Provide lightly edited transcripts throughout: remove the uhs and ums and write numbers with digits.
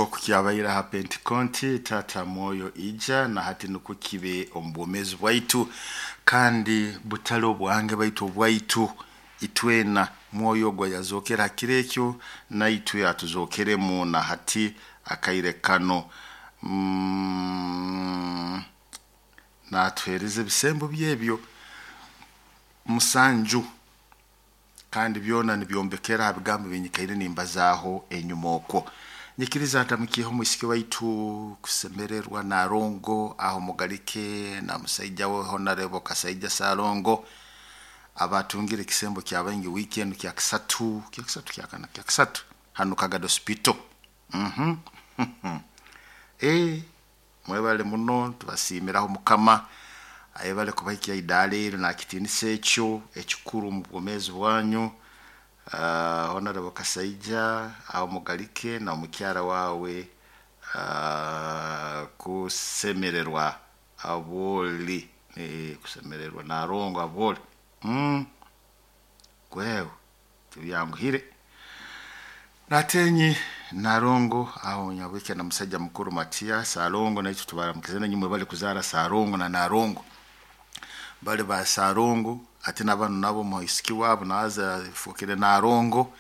Nk'oku kyabaire aha Pentekonti, Taata Mwoyo ija na hati nukwo kibe omu bwomeezi bwaitu, kandi butali obwange baitu obwaitu itwena. Mwoyo ogwo ayazookere ha kiro ekyo naitwe atuzookeremu na hati akaire kano. Natuheereza ebisembo byebyo 7, kandi byona nibyombekera ha bigambo binyikaire nimbazaaho enyuma okwo. Nyikiriza ntamukiiho omwisiki waitu kusemererwa Narongo aho Mugalike na musaija we Honorable Kasaija Salongo abatungire ekisembo kya baingi wiiki enu kyakisatu, kyakisatu kyakana, kyakisatu hanu Kagadi Hospital. Mwebale muno, tubasiimiraho Mukama ayebale kubahikya idaara eryo nakitinisa ekyo ekikuru omu bwomeezi bwanyu. Honorable Kasaija aho Mugalike na omukyara wawe kusemererwa abwoli, kusemererwa Narongo abwoli. Gwewe tibyanguhire. Natenyi Narongo aho Nyabwike na musajja mukuru Matiya Salongo, naitwe tubaramukize nanywe mwebale kuzaara Salongo na Narongo. Bali ba Salongo ate na banu nabo muisiki wabo naza afukire Narongo,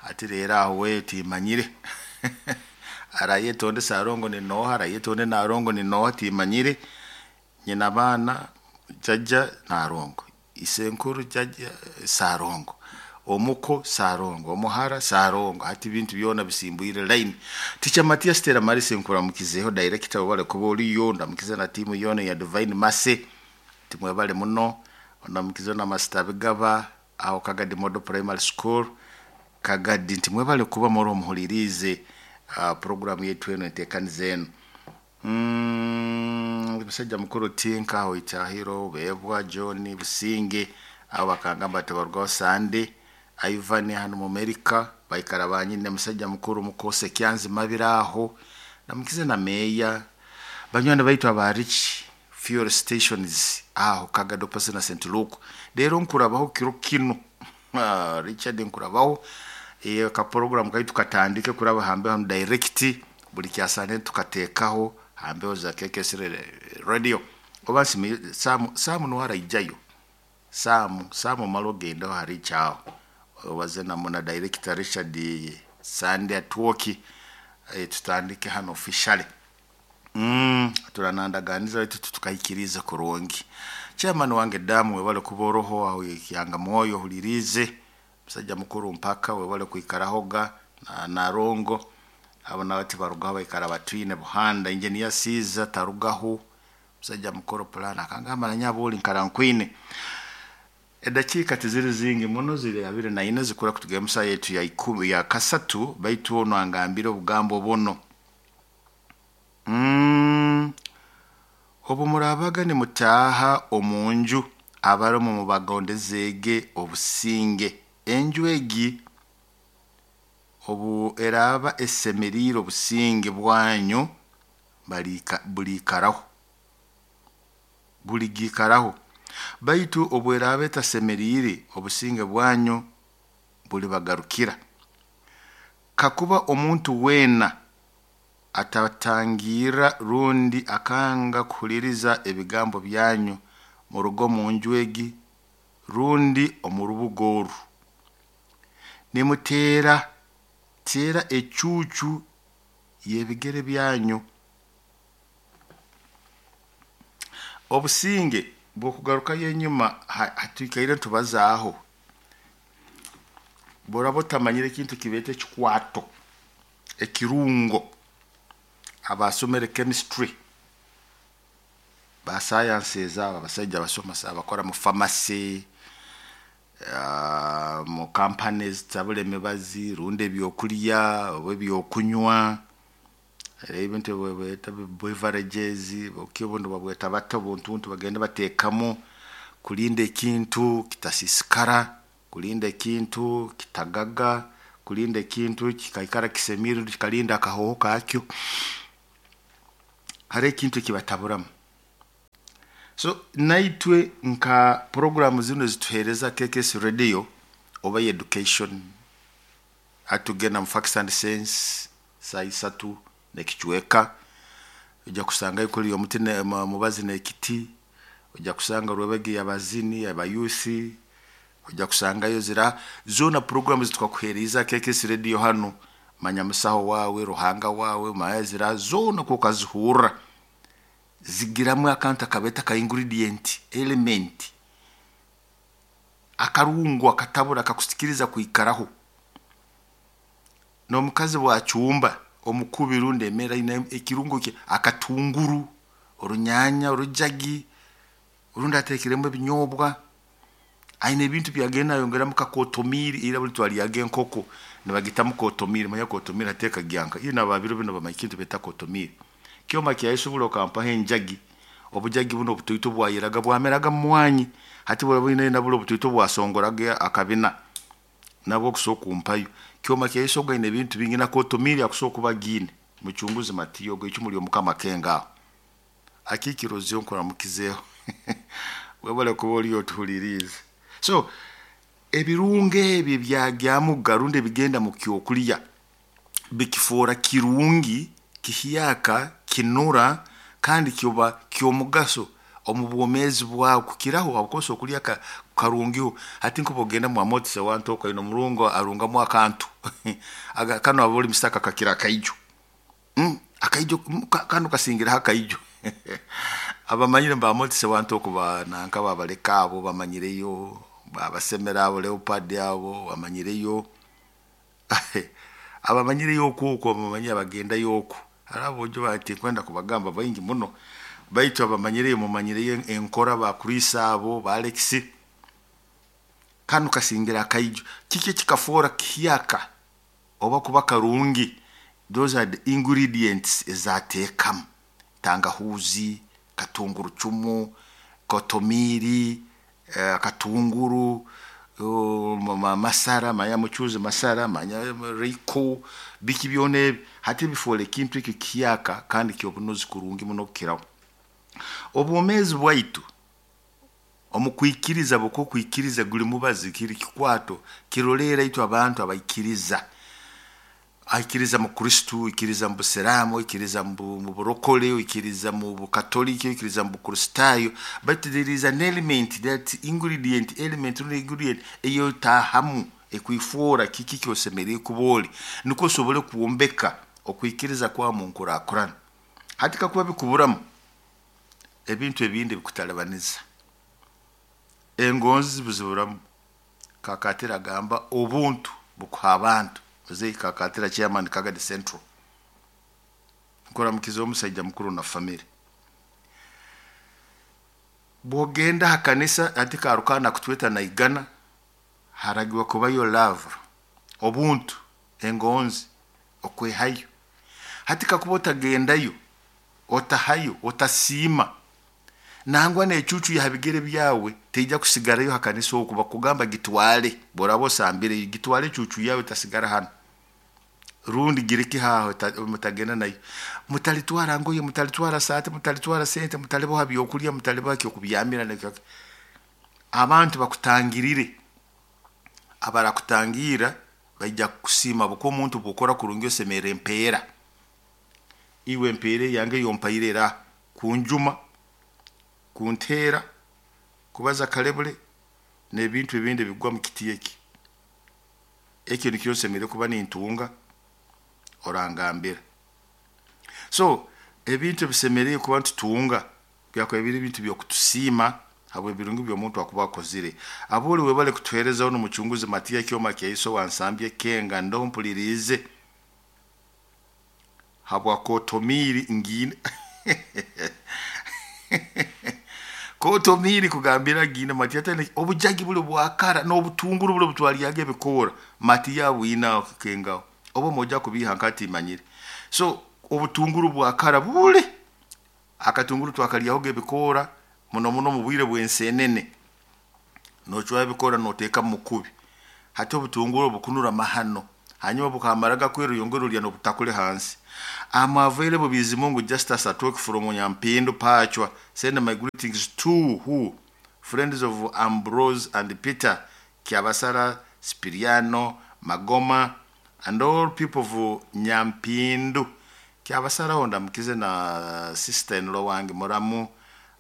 ati rero aho we timanyire. Arayetonde Salongo ni noha, arayetonde Narongo ni noha, timanyire. Nyina baana jjajja Narongo, isenkuru jjajja Salongo, omuko Salongo, omuhara Salongo, hati ebintu byona bisimbwire line. Teacher Matias Stella Maris nkuramukizeho, director webale kuba oliyo, ndamukize na tiimu yoona ya Divine Mercy, timwebale muno. Ndamukize na Master Bigaba aho Kagadi Model Primary School Kagadi, nti mwebale kuba muri omuhuliriize program yetu eno enteekaniza eno. Musajja mukuru Tinka aho Itahiro, Bebwa John Businge abo bakangamba tibarugaho Sande, Ivan hano mu America baikara banyine, musajja mukuru Mukose Kyanzi Mabira aho, namukize na meya banywani baitu aba Rich Fuel Stations aho Kagadi opposite na St Luke. Rero nkurabaho kiro kino Richard nkurabaho ka program kaitu katandike kuraba hambe hano direct buli kyasande tukateekaho hambeho za KKS radio. Oba nsimi Samu nuwe araijayo, Samu omale ogendeho hari aho obaze na director Richard Sande Atwoki, tutandike hano officially. Turanandaganiza baitu tutukahikirize kurungi. Chairman wange Damu webale kuba oroho aho Kyanga Mwoyo ohuliriize, musajja mukuru mpaka webale kwikarahoga na Narongo, abo nabo tibarugaho baikara batwine Buhanda. Engineer Caesar tarugaho, musajja mukuru plan akangamba na nyabuli nkara nkwine. Edakiika tiziri zingi muno, ziri 24 zikura kutugenda musa yetu ya ikumi ya kasatu, baitu ono angambire obugambo buno. Obu murabaga nimutaaha omu nju, abaromo mubagondezege obusinge. Enju egi obu eraaba esemeriire obusinge bwanyu buliikaraho, buligiikaraho. Baitu obu eraaba etasemeriire obusinge bwanyu bulibagarukira. Kakuba omuntu weena atatangirra rundi akanga kuhuliriza ebigambo byanyu, muruge omu nju egi rundi omu rubuga oru. Nimuteera teera ecuucu y'ebigere byanyu. Obusinge bw'okugarukayo enyuma hatwikaire ntubazaaho, boraba otamanyire ekintu kibeeta ekikwato, ekirungo, abasomere chemistry ba sciences abo abasaija basoma abakora mu pharmacy, mu companies zitabura emibazi rundi ebyokulya oba ebyokunywa, ebintu ebi beverages, obundi babweta bata obuntuntu bagenda bateekamu kulinda ekintu kitasiisikara, kulinda ekintu kitagaga, kulinda ekintu kikaikara kisemiire kikalinda akahooho kakyo. Hariho ekintu ekibataburamu. So naitwe nka program zinu ezituheereza KKS radio oba education, hatugenda mu Facts and Sense saa 3. Nekicweka ojja kusangayo kuli omuti mubazi n'ekiti, ojja kusanga Rwebege y'abazini abayusi, ojja kusangayo zira zoona program zitwakuheeriza KKS Radio hanu, manya musaho waawe, Ruhanga waawe, manya zira zoona okazihurra zigiramu akantu akabeeta ka ingredient element akarungu akatabura akakusikiriza kwikaraho. N'omukazi bwacumba omukubi rundi emere aine ekirungo kye akatunguru, orunyanya, orujagi, rundi ateekiremu ebinyobwa, aine ebintu byagenda nayongeramu nka kotomiri, ira buli twaryaga enkoko nibagitamu kotomiri, manya kotomiri hati ekagyanka, itwe n'ababiro binu bamanya ekintu beeta kotomiri. Kyoma kya Yesu buli okampaho enjagi, obujagi bunu obutoito bwayeraga bwameraga mu mwanyi, hati buli na buli obutoito bwasongoraga akabina, nabwo okusobora kumpayo. Kyoma kya Yesu ogu aine ebintu bingi na kotomiri akusobora kuba agiine, mucunguzi Matiya ogu eicumu ly'Omukama Kenga aho. Akiikirozyo nkuramukizeeho webale kuba oli otuhuliriize. So ebirungo ebi ebyagyamuga rundi ebigenda mu kyokulya bikifoora kirungi, kihyaka, kinura kandi kiba ky'omugaso omu bwomeezi bwawe kukiraho habwokuba okulya karungiho. Hati nkuba ogenda mwamotisi ewantu oku aine omurungo arungamu akantu kanu aboli misaka kakira akaijo, akaijo kanu kasingiraho akaijo. Abamanyire bamotisi ewantu oku nanka babaleka abo bamanyireyo, babasemera abo Leopard abo bamanyireyo, abamanyireyo oku oku abamanyire abagendayo oku, haro aboojo tinkwenda kubagamba baingi muno, baitu abamanyireyo mumanyireyo enkora ba Chris abo ba Alex, kanu kasingira akaijo. Kiki ekikafoora kihyaka oba kuba karungi? Those are the ingredients ezateekamu, tangahuuzi, katungurucumu, kotomiri, akatunguru, masara, manya mucuuzi masara, manya royco, biki byona ebi, hati bifoora ekintu eki kihyaka kandi ky'obunuzi kurungi muno kukiraho. Obwomeezi bwaitu omu kwikiriza habwokuba guli mubazi kiri kikwato kiroleera itwe abantu abaikiriza. Aikiriza mu Kristo, aikiriza mu Busiraamu, aikiriza mu burokole, aikiriza mu Bukatoliki, aikiriza mu Bukristaayo, but there is an element that ingredient element rundi ingredient ey'otaahamu ekwifoora kiki ekyosemeriire kuba oli, nukwo osobole kwombeka okwikiriza kwawe mu nkurakurana. Hati kakuba bikuburamu, ebintu ebindi bikutalibaniza. Engonzi buziburamu, Kakatira agamba obuntu bukuha abantu, Mzee Kakatira chairman Kagadi Central. Nkuramukiza omusaija mukuru na family. Bwogenda ha kanisa hati Karukaana kutweta naigana, haragirwa kubayo love, obuntu, engonzi, okwehayo. Hati kakuba otagendayo, otahayo, otasiima, nangwa n'ecuucu y'aha bigere byawe teija kusigarayo ha kanisa oku, bakugamba gitwale, bw'oraaba osambireyo gitwale ecuucu yawe etasigara hanu, rundi gireke aho mutagenda nayo. Mutalitwara ngoye, mutalitwara saati, mutalitwara sente, mutalibaha byokulya, mutalibaha ekyokubyamira. Abantu bakutangirire, abarakutangira baija kukusiima habwokuba omuntu obwokora kurungi osemerra empeera. Iwe empeera eyange eyompaire era kunjuma, kunteera, kubaza kalebule n'ebintu ebindi ebigwa mu kiti eki. Eki nikyo nsemeriire kuba nintunga orangambira. So ebintu ebisemeriire kuba nitutunga byakuba biri bintu by'okutusiima habw'ebirungi by'omuntu akuba akozire. Aboli webale kutuheereza onu mucunguzi Matiya Kyoma Kyaiso wansambye Kenga ndoho mpuliriize habwa kotomiri ngiine kotomiri kugambira giine Matiya tene obujagi buli bwakara n'obutunguru buli obutwaryaga ebikoora Matiya abwine aho Kengaho oba moja kubiiha nkatimanyire. So obutunguru bwakara buli akatunguru twakalyahoga ebikoora muno muno mu bwire bw'ensenene, nocwaho ebikoora noteeka mu mukubi. Hati obutunguru bukunura mahano, hanyuma bukamaraga kwera oyongera olya n'obutakuli hansi. I'm available Bizimungu Justus Atwek from Nyampindu Pachwa. Send my greetings to who? Friends of Ambrose and Peter, Kiabasara, Spiriano, Magoma, and all people of Nyampindu. Kyabasaraho ndamukize na sister in law wange muramu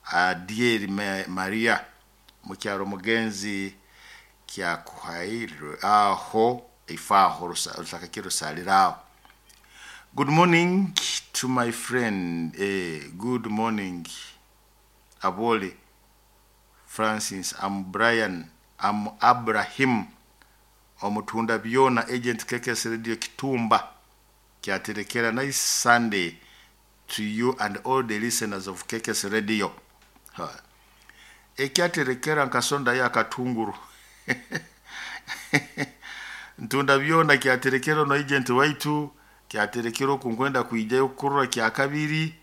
Adieri Maria mukyaro mugenzi kyakuhairwe aho ifaho rusaka kirusaliraho. Good morning to my friend, good morning Abole Francis, I'm Brian, I'm Abrahim omutunda byona agent KKS Radio Kitumba kyaterekera. Nice Sunday to you and all the listeners of KKS Radio. Ha. Ekyaterekera nkasonda ya katunguru ntunda byona kyaterekera no agent waitu kyaterekera okunkwenda kwijayo kukurura kya kabiri.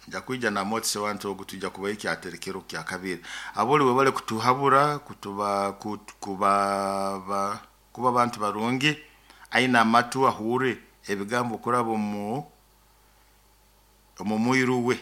Nja kwija na motse wantu ogu tujja kubayo kyaterekero kya kabiri. Aboli webale kutuhabura kutuba kuba kuba abantu barungi aina amatu ahure ebigambo kuraba omu mwiru we.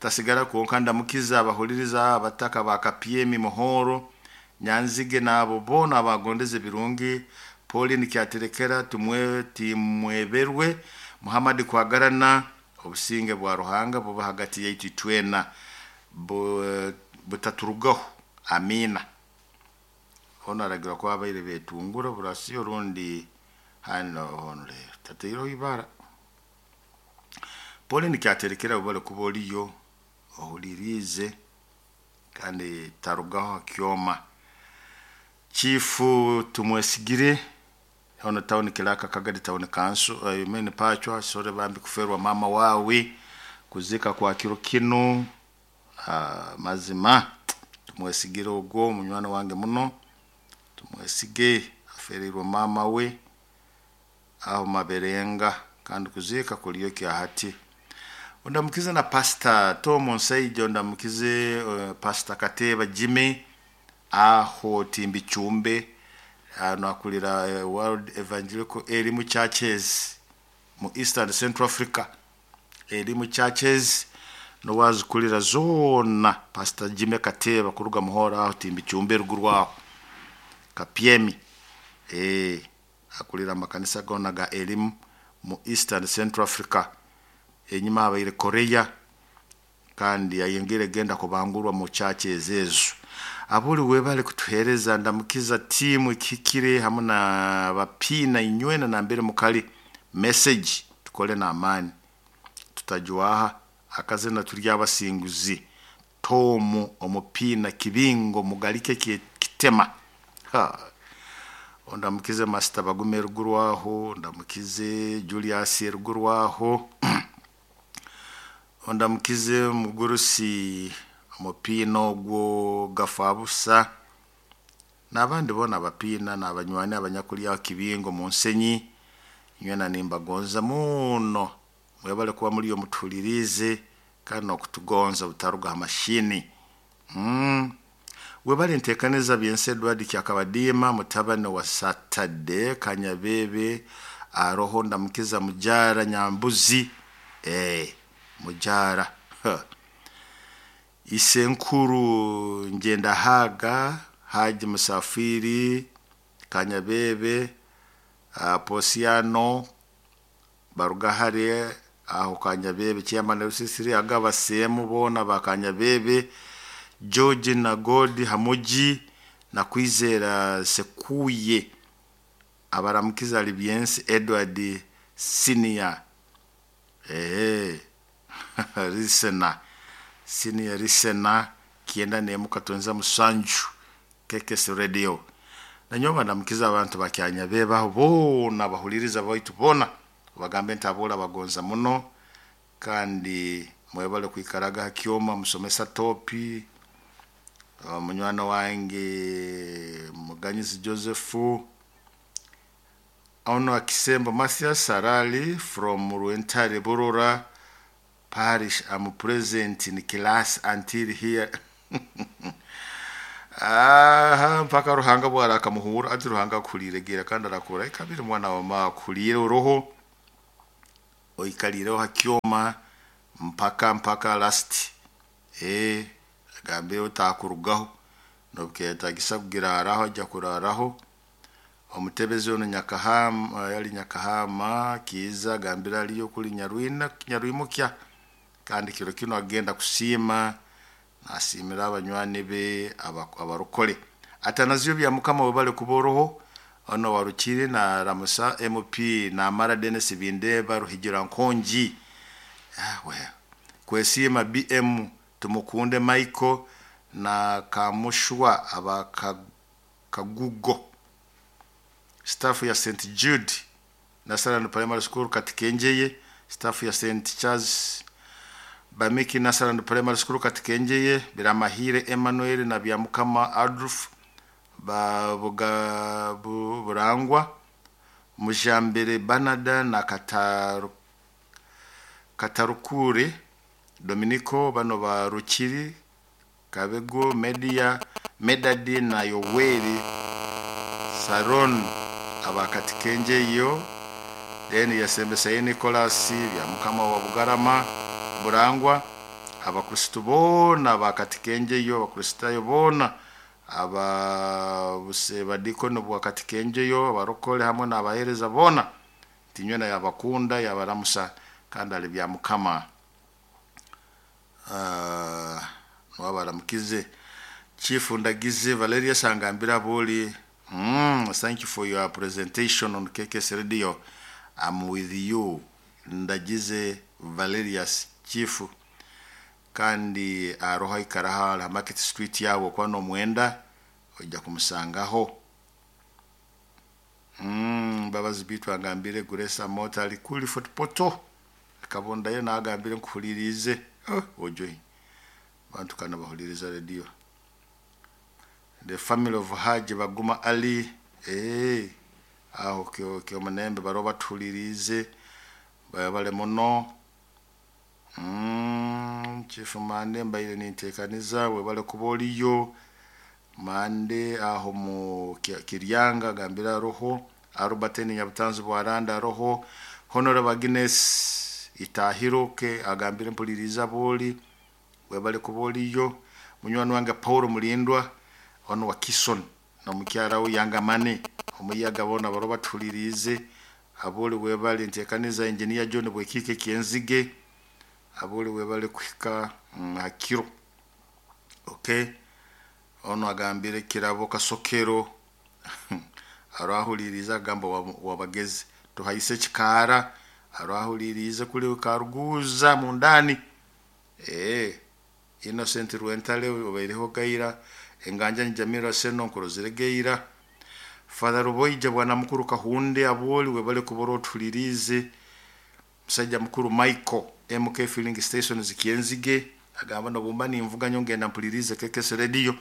Tasigara konka ndamukiza abahuliriza abataka ba Kapyemi Muhoro Nyanzige nabo bona abagondeze birungi. Pauline kyaterekera tumwe timweberwe Muhammad kwagarana obusinge bwa Ruhanga buba hagati yaitu twena butaturugaho amina. Ono aragira ko abaire betungura burasiyo rundi hano ono rero tateireho ibara. Pauline kyaterekera bubale kuba oliyo ohulirize kandi tarugaho kyoma. Chifu tumwesigire ono town kilaka Kagadi town council mene pachwa sore bambi kuferwa mama wawe kuzika kwa kiro kino. Mazima tumwesigire ogwo munywani wange muno tumwesige aferirwe mama we aho maberenga kandi kuzika kuliyo kyahati. Ondamukize na Pastor Tom Nsaijo, ondamukize Pastor Kateba Jimmy aho Timbi Chumbe ano akulira World Evangelical Elimu Churches mu East and Central Africa Elimu Churches nowazikulira zona Pastor Jimmy Kateba kuruga muhora aho Timbi Chumbe ruguru aho Kapyemi akulira amakanisa gona ga Elimu mu East and Central Africa. Enyuma abaire Korea kandi ayengere genda kubangurwa mu churches ezo. Abuli webale kutuhereza ndamukiza timu ikikire hamwe na bapina inywena na mbere mukali message tukole na amani tutajwaha akazina turi abasinguzi Tomu omupina kibingo mugalike kitema. Ha. Ondamukize Master Bagume ruguru aho, ndamukize Julius ruguru aho, ondamukize mugurusi omupina ogwo gafabusa n'abandi bona abapina n'abanywani abanyakulya kibingo mu nsenyi nywena nimbagonza muno mwebale kuba muri yo mutulirize kandi nokutugonza butaruga amashini. Webale ntekaneza byense Edward Kyakabadima mutabane wa Saturday Kanyabebe aroho ndamukiza mujara Nyambuzi mujara Isenkuru ngenda haga Haji Musafiri Kanyabebe Posiano Barugahare aho Kanyabebe Chairman Rusisiri agaba semu bona ba Kanyabebe George na God Hamuji na Kwizera Sekuye abaramukiza Libyensi Edward Senior Risena Senior Risena kienda nemuka tonza musanju KKS Radio nanyoba ndamukiza abantu bakyanyabebe aho bona bahuliriza baitu bona bagambe ntabola bagonza muno kandi mwebale kwikaraga hakyoma musomesa topi munywana wange Muganyizi Joseph ono akisembo Mathias Sarali from Ruentare Burora Parish. I'm present in class until here. Aha mpaka Ruhanga bwara akamuhura ati Ruhanga kuliregera kandi arakura ikabiri mwana wa ma kulire uroho oikalireho hakyoma mpaka last agambe utakurugaho nobuketagisa kugira araho ajya kuraraho Omutebezi ono Nyakahama, yali Nyakahama Kiiza, agambira aliyo kuli Nyarwina Nyarwimukya, kandi kiro kino agenda kusiima, nasiimira abanywani be abarokole. Atanazio bya Mukama webale kuboroho ono warukire na Ramusa MP Namara Dennis Bindeba Ruhigira Nkongi. Well. Kwesiima BM Tumukunde Michael na Kamushwa aba Kagugo. Staff ya St Jude Nasaran Primary School Katikengeye, staff ya St Charles Bamiki Nasaran Primary School Katikengeye, Biramahire Emmanuel na Byamukama Adolf Babuga Burangwa, Mujambere Banada na Katarukure Dominico, bano ba Rukiri Kabego Media Medadi na Yoweri Saron abakatikenjeyo. Then yasembesaye Nicholas Byamukama wa Bugarama Burangwa, abakristo bona bakatikenjeyo, abakristayo bona, abadikono bwakatikenjeyo, abarokole hamwe n'abahereza bona, tinywena yabakunda yabaramusa kandi ali Byamukama nwabaramukize. Chief Ndagize Valeria Sangambira Boli, thank you for your presentation on KKS Radio. I'm with you, Ndagize Valerius Chief. Kandi aroha ikaraha la Market Street yabo kwa no mwenda ojja kumusangaho. Mbabazi bitu agambire Guresa Mota ali kuli Fort Portal. Kabonda yo nagambire nkuhulirize. Oh, ojoi. Bantu kana bahuliriza radio. The family of Haji Baguma Ali, aho kyo manembe baroba tulirize bale muno. Chief Mande mbaire nintekaniza webale kuboliyo Mande aho mu Kiryanga gambira roho Arubateni Nyabutanzi Bwaranda roho Honorable Agnes Itahiroke agambire mpuliriza boli webale kuboliyo. Munywani wange Paul Mulindwa ono wa Kison no mukyara we Yangamane omuyaga bona baroba tulirize aboli webale ntekaniza engineer John Bwekike Kienzige aboli webale kuhika hakiro. Okay, ono agambire Kirabo Kasokero arahuliriza agamba wabagezi tuhayise kikara arahuliriza kuli karuguza mundani. Innocent Rwentale obaireho gaira enganja Jamira Seno nkuroziregeira Father Ruboija bwana mukuru Kahunde aboli webale kuboro tulirize. Musajja mukuru Michael MK Filling Station zikienzige agamba no bumba nimvuga nyongenda mpulirize KKS Radio.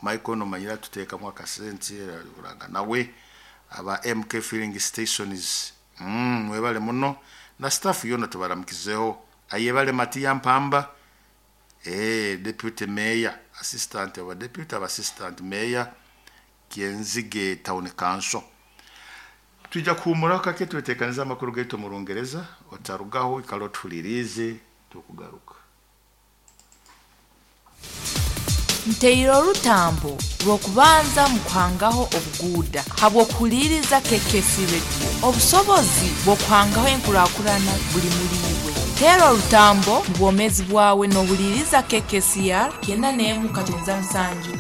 Michael no manyira tuteka mu akasenti uranga nawe aba MK Filling Stations. Webale muno na staff yona tubaramukizeho. Ayebale Matia Mpamba, deputy mayor, assistant wa deputy wa assistant mayor Kienzige Town Council. Tujja kuhumura kake twetekaniza amakuru gaitu mu Rungereza otarugaho ikalo tulirize tukugaruka. Nteire orutambo rw'okubanza mu kuhangaho obuguuda habw'okuhuliriza KKS Radio. Obusobozi bw'okuhangaho enkurakurana buli muri iwe. Teera orutambo mu bwomeezi bwawe n'ohuliriza KKCR 91.7